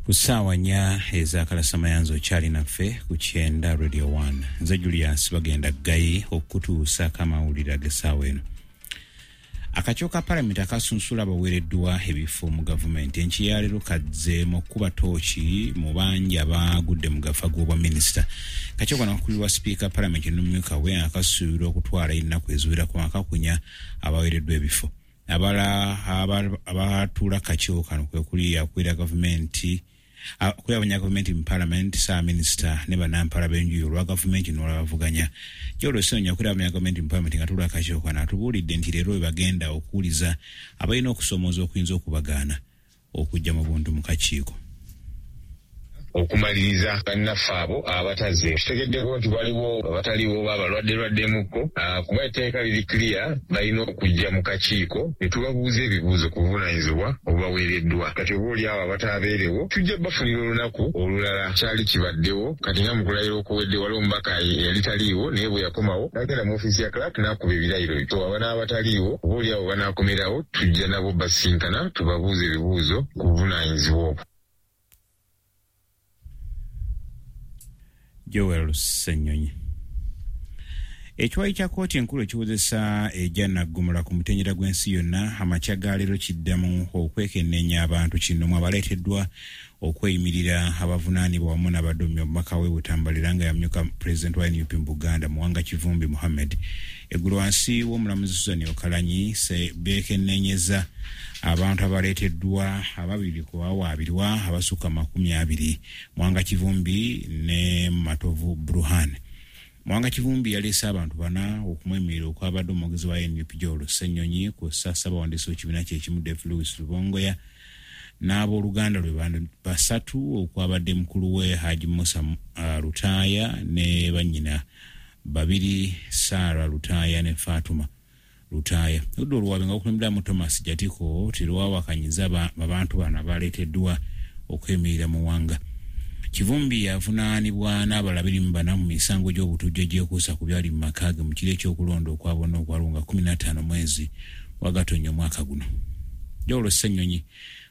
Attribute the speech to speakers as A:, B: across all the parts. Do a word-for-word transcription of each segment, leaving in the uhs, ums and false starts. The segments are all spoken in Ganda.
A: Ku ssaawa nnya ez'akalasamayanzi okyali naffe ku Kyenda Radio one. Nze Julius bagenda Gayi okutuusaako amawulire ag'essaawa eno. Akakiiko ka Palamenti akasunsula abaweereddwa ebifo mu gavumenti enkya ya leero kazze mu kukuba ttooki mu bangi abagudde mu gafa g'obwa minisita. Akakiiko kano kakulirwa sipiika Palamenti n'omumyuka we akasuubirwa okutwala ennaku eziwerako akakunya abaweereddwa ebifo. Abalala abatuula kakiiko kano kwe kuli akulira gavumenti akulira gavumenti mu Palamenti, ssaabaminisita ne bannampala b'enjuyi olwa gavumenti n'olwabavuganya. Joel Ssenyonyi akulira gavumenti mu Palamenti nga tuula akakiiko kano atubuulidde nti leero we bagenda okuwuliza abalina okusoomooza okuyinza okubagaana okujja mu buntu mu kakiiko.
B: Okumaliriza bannaffe abo abataze kitegeddeko nti waliwo abataliwo oba abalwadde lwaddemukko, kuba etteeka liri clear, balina okujja mu kakiiko ne tubabuuza ebibuuzo ku buvunaanyizibwa obubaweereddwa. Kati oba oli awo abataabeerewo tujja bafunira olunaku olulala. Kyali kibaddewo kati nga mu kulayira okuwedde waliwo omubaka eyali taliiwo, naye bwe yakomawo n'agenda mu ofiisi ya clerk n'akuba ebirayiro. So aba n'abataliiwo oba oli awo banaakomerawo tujja nabo basinkana tubabuuze ebibuuzo ku buvunaanyizibwa obwo.
A: Joel Ssenyonyi. Ekiwayi kya kkooti enkulu ekiwozesa ejja Naggomola ku mutendera gw'ensi yonna amakya ga leero kiddamu okwekenneenya abantu kino mu abaleeteddwa okweyimirira abavunaanibwa wamu n'abadumya omubaka w'e Butambala nga yamyuka pulezidenti wa N U P mu Buganda Muwanga Kivumbi Muhammed. Eggulo wansi w'omulamuzi Susan Okalanyi beekenneenyeza abantu abaleeteddwa ababiri ku bawaabirwa abasukka makumi abiri, Muwanga Kivumbi ne Matovu Bruhan. Muwanga Kivumbi yaleese abantu bana okumwemirira okwabadde omwogezi wa N U P Joel Ssenyonyi ku ssabawandiisi w'ekibiina kye ekimu Dave Lewis Lubongoya n'abooluganda lwe basatu okwabadde mukulu we Haji Musa uh, Lutaaya ne bannyina babiri Sarah Lutaaya ne Fatuma Lutaaya. Oludda oluwaabi nga lukulemberamu Thomas Jatiko terwawakanyiza abantu bano abaleeteddwa okwemirira Muwanga. Kivumbi yavunaanibwa n'abalala abiri mu bana mu misango gy'obutujju egyekuusa ku byali mu maka ge mu kiro ekyokulonda okwabonna okwaliwo nga kkumi na ttaano mwezi wa Gatonnya omwaka guno. Joel Ssenyonyi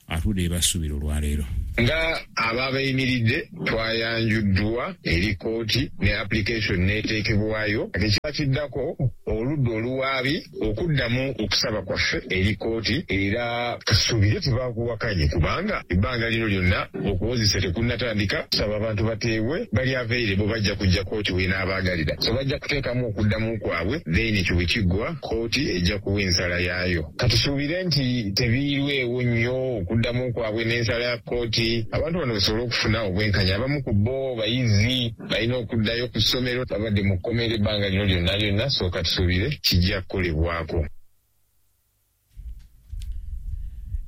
A: atudde ebasuubira olwaleero.
B: Nga ababayimiridde twayanjuddwa eri kkooti ne application n'eteekebwayo. Ekiba kiddako oludda oluwaabi okuddamu okusaba kwaffe eri kkooti, era tusuubire tebakuwakanye kubanga ebbanga lino lyonna okuwozesa tekunnatandika. Tusaba abantu bateebwe bali available, bajja kujja kkooti w'enaabaagalira, so bajja kuteekamu okuddamu kwabwe, then ekyo bwe kiggwa kkooti ejja kuwa ensala yaayo. Katusuubire nti tebiirwewo nnyo okuddamu kwabwe n'ensala ya kkooti, abantu bano basobole okufuna obwenkanya. Abamu ku bo bayizi balina okuddayo ku ssomero, babadde mu kkomera ebbanga lino lyonna lyonna, so katusuubire kijja kukolebwako.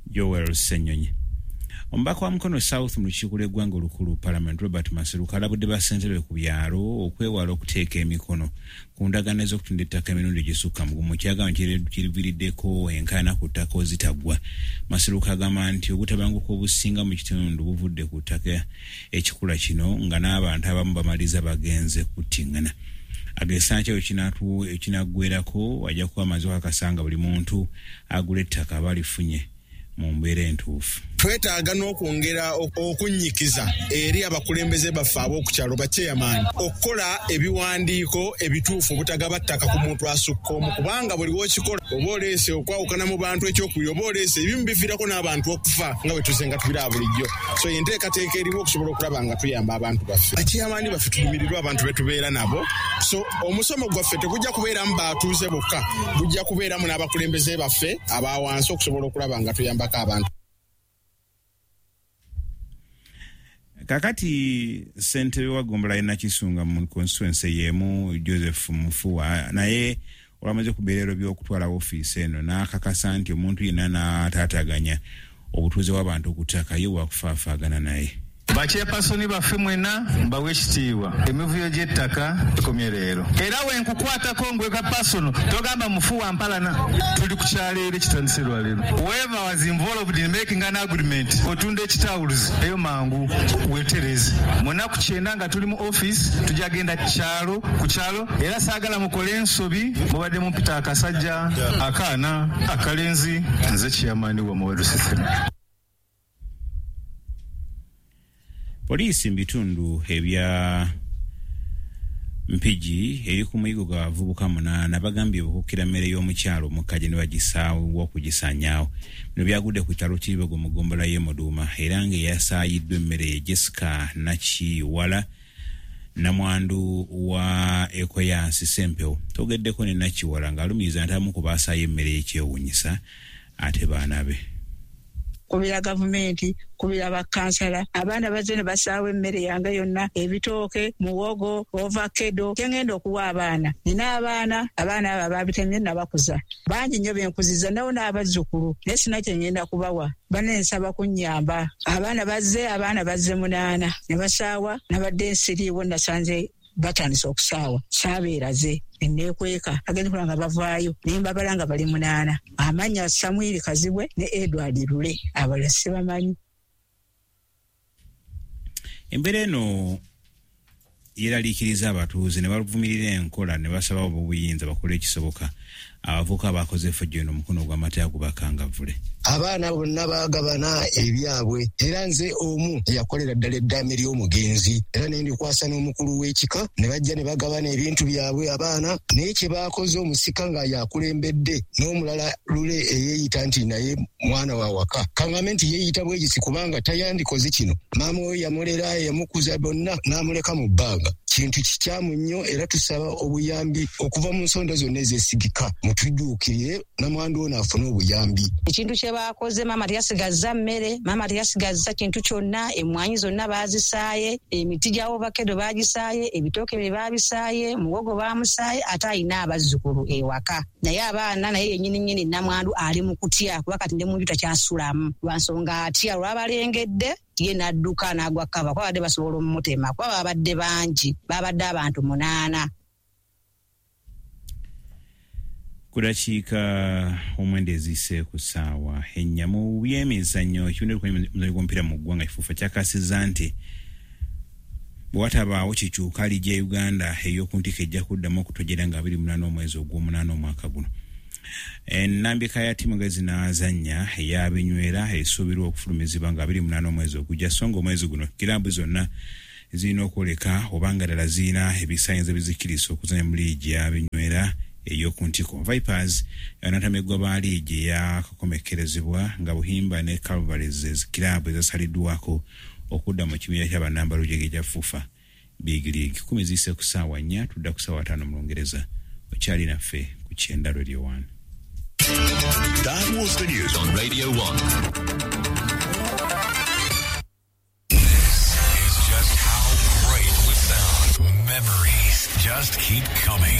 A: Joel Ssenyonyi. Omubaka wa Mukono South mu lukiiko lw'eggwanga olukulu Parliament Robert Maseruka alabudde bassentebe ku byalo okwewala okuteeka emikono ku ndagaano ez'okutunda ettaka emirundi egisukka mu gumu, kyagamba kiriviiriddeko enkaayana ku ttaka ozitaggwa. Maseruka agamba nti obutabanguko obusinga mu kitundu buvudde ku ttaka ekikula kino nga n'abantu abamu bamaliriza bagenze kuttiŋŋana. Agesa nti ekinaggwerako ajja kuba amaze okukakasa buli muntu agula ettaka aba alifunye mu mbeera entuufu.
C: Twetaaga n'okwongera okunnyikiza eri abakulembeze baffe ab'oku kyalo bachairman okukola ebiwandiiko ebituufu obutagaba ttaka ku muntu asukka omu, kubanga buli w'okikola oba oleese okwawukana mu bantu. Ekyokubiri, oba oleese ebimu biviirako n'abantu okufa nga bwe tuze nga tubiraba bulijjo. So enteekateeka eriwo okusobola okulaba nga tuyamba abantu baffe, bachairman baffe, tulumirirwa abantu be tubeera nabo. So omusomo gwaffe tegujja kubeeramu batuuze bokka, gujja kubeeramu n'abakulembeze baffe abawansi okusobola okulaba nga tuyambako abantu.
A: Kakati ssentebe wa ggombolola y'e Nakisunga mu constituency y'emu Joseph Mufuwa naye olwamaze ku birero by'okutwala ofiisi eno n'akakasa nti omuntu yenna n'ataataganya obutuuze bw'abantu ku ttaka ye wakufaafaagana naye.
D: Bachairpersoni baffe mwenna mbawe ekitiibwa, emivuyo gy'ettaka ekomye leero, era wenkukwatako ngweka personal togamba Mufuwa mpalana. Tuli ku kyalo era ekitandise lwaleero. Whoever was involved in making an agreement otunda ekitawuluzi eyo mangu wetereze. Munaku kyenda nga tuli mu office tujja genda kyalo ku kyalo, era saagala mukole ensobi. Mubadde mumpita akasajja, akaana akalenzi, nze chairman wa Muweru System.
A: Poliisi mu bitundu ebya Mpigi eri ku muyigo gw'abavubuka munaana bagambye obukukkira mmere y'omukyalo omukkaje ne bagisaawo okugisaanyaawo. Bino byagudde ku kyalo Kiribogo mu ggombolola y'e Muduuma era ng'eyasaayiddwa emmere ye Jessica Nakiwala, namwandu wa Ekoyansi Ssempewo. Twogeddeko ne Nakiwala ng'alumiriza nti abamu ku baasaayo emmere y'ekyewuunyisa ate baana be.
E: Kubira gavumenti, kubira bakansala, abaana bazze ne basaawa emmere yange yonna, ebitooke, muwogo, ovakedo, kyengenda okuwa abaana. Nina abaana, abaana abo ababitemye nabakuza. Bangi nnyo benkuziza nabo n'abazzukulu, naye sina kye ngenda kubawa. Banne nsaba kunnyamba. Abaana bazze, abaana bazze munaana ne basaawa, nabadde nsiriiwo nasanze batandise okusaawa, saabeeraze neekweka agenda okulaba nga bavaayo naye mbabala nga bali munaana. Amannya Samwiri Kazibwe ne Edward Lule, abalala sibamanyi.
A: Embeera eno yeeraliikiriza abatuuze ne bavumirira enkola ne basaba obuyinza bakole ekisoboka abavubuka abakoze effujjo eno omukono gw'amateeka gubakangavvule.
F: Abaana bonna baagabana ebyabwe era nze omu eyakolera ddala eddaame ly'omugenzi era ne ndikwasa n'omukulu w'ekika ne bajja ne bagabana ebintu byabwe abaana, naye kye baakoze omusika nga yakulembedde n'omulala Lule eyeeyita nti naye mwana wa waka. Kaŋŋambe nti yeeyita bwegisi kubanga tayandikoze kino. Maama we yamulera, yamukuza bonna n'amuleka mu bbanga. Kintu kikyamu nnyo era tusaba obuyambi okuva mu nsonda zonna ezeesigika mutudduukirire namwandu ono afune obuyambi.
G: Ekintu kye baakoze, maama teyasigazza mmere, maama teyasigazza kintu kyonna, emmwanyi zonna baazisaaye, emiti gya ovakedo baagisaaye, ebitooke bye baabisaaye, muwogo baamusaaye, ate alina abazzukulu ewaka. Naye abaana naye yennyini nnyini namwandu ali mu kutya kuba kati ne mu nju takyasulamu lwa nsonga atya olwabalengedde ye n'adduka n'agwa kkava kuba babadde basobola omumutema kuba babadde bangi, babadde abantu munaana.
A: Ku dakiika omwenda eziyise ku ssaawa ennya mu byemizannyo, ekibiina ky'omuzannyo gw'omupiira mu ggwanga kifuufa kyakasizza nti bwe watabaawo kikyuka liigi ya Uganda ey'oku ntikko ejja kuddamu okutojjera nga abiri munaana omwezi ogw'omunaana omwaka guno. Ennambika ya ttiimu nga zinaazannya ey'abinywera esuubirwa okufulumizibwa nga abiri munaana omwezi ogujja, so nga omwezi guno kiraabu zonna zirina okwoleka oba nga ddala zirina ebisaanyizo ebizikkiriza okuzannya mu liigi y'abinywera ey'oku ntikko. Vipers anatamegwa ba liigi eyakakomekkerezebwa nga Buhimba ne Calvaries kiraabu ezasaliddwako okudda mu kibiina ky'abannambalujege ekya FUFA Big League. Kumi ziyise ku ssaawa nnya, tudda ku ssaawa ttaano mu Lungereza. Okyali naffe ku Kyenda Radio One.
H: That was the news on Radio one. This is just how great we sound. Memories just keep coming.